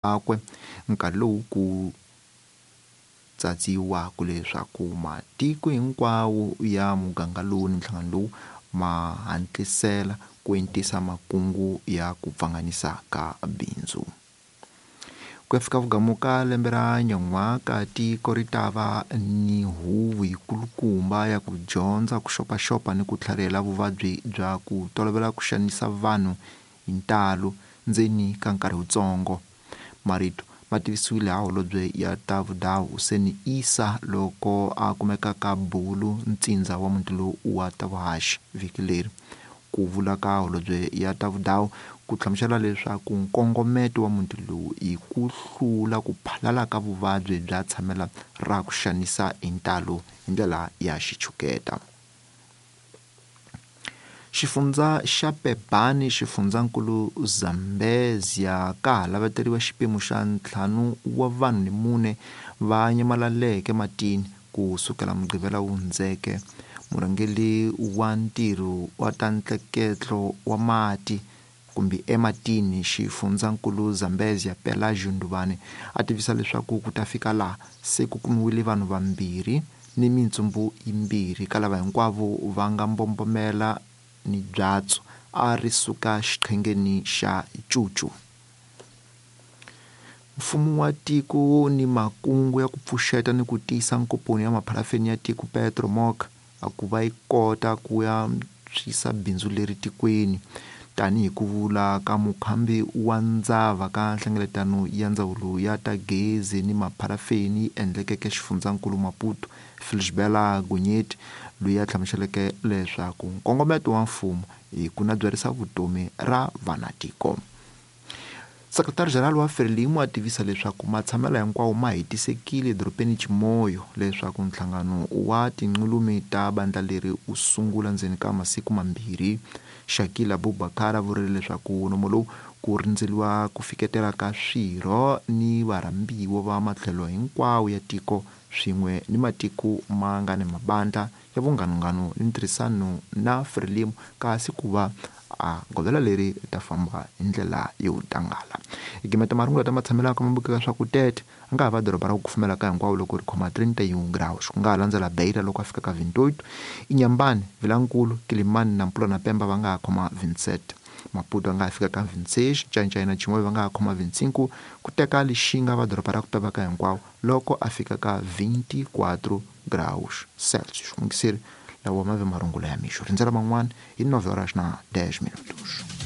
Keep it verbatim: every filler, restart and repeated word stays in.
Akwe nkarhi lowu ku tsatsiwaka leswaku matiko hinkwawo ya muganga lowu ni nhlangano lowu ma hatlisela ku entisa makungu ya ku pfanganisa ka bindzu. Ku ya fika vugamu ka lembe ra nyan'waka tiko ri ta va ni huvo yikulukumba ya ku dyondza ku xopaxopa ni ku tlharihela vuvabyi bya ku tolovela ku xanisa vanhu hi ntalo ndzeni ka nkarhi wutsongo. Marito ma tivisiwile ha holobye ya ta vudawu Hussein Issa loko a kumeka ka Bulu ntsindza wa muti lowu wa ta vuhaxi vhiki leri. Ku vula ka holobye ya ta vudawu ku hlamusela leswaku nkongometo wa muti lowu i ku hlula ku phalala ka vuvabyi bya tshamela ra ku xanisa hi ntalo hi ndlela ya xichuketa. Xifundza xa Pebani xifundzankulu Zambezia ka ha laveteriwa xipimo xa ntlhanu wa vanhu ni mune va nyamalaleke matini ku sukela Mugqivela wu hundzeke. Murhangeri wa ntirho wa ta ntleketlo wa mati kumbe ematini xifundzankulu Zambezia Pelagio Nduvane a tivisa leswaku ku ta fika laha se ku kumiwile vanhu vambirhi ni mintsumbu yimbirhi ka lava hinkwavo va nga mbombomela ni byatso a ri suka xiqhengeni xa Cucu. Mfumo wa tiko ni makungu ya ku pfuxeta ni ku tiyisa nkomponi ya mapharafeni ya tiko Petromoc a ku va yi kota ku ya antswisa bindzu leri tikweni tanihi ku vula ka mukhambi wa ndzava ka nhlengeletano ya ndzawulo ya ta gezi ni mapharafeni yi endlekeke xifundzankulu Maputo Felisbela Gonyeti loyi a hlamuseleke leswaku nkongometo wa mfumo i ku nabyarisa vutomi ra vanatiko. Sekretari General wa Frelimo a tivisa leswaku matshamelo hinkwawo ma hetisekile edorobeni Chimoio leswaku nhlangano wa tinqulumi ta bandla leri wu sungula ndzeni ka masiku mambirhi. Shakil Abubakar a vurile leswaku nomo lowu ku rindzeriwa ku fiketela ka swirho ni varhambiwa va matlhelo hinkwawo ya tiko swin'we ni matiko ma nga ni mabandla ya vunghanunghanu ni ntirhisano na Frelimo kasi ku va a govela leri ri ta famba hi ndlela yo tangala. Hi gimeta marungula ta matshamelaka mambukeka swa ku tete a nga ha va doroba ra ku kufumela ka hinkwavo loko ri khoma trinta e um graus ku nga ha landzela Beira loko a fika ka vinte e oito Inhambane, Vilankulu, Kilimani na Mpula na Pemba va nga ha khoma vinte e sete Maputo a nga ha fika ka vinte e seis Ncancai na Chimoio va nga ha khoma vinte e cinco ku teka Lixinga va doroba ra ku peva ka hinkwavo loko a fika ka vinte e quatro graus Celsius. N'wingiseri lawa ma ve marungula ya mixo rindzela man'wana hi nove horas na dez minutos.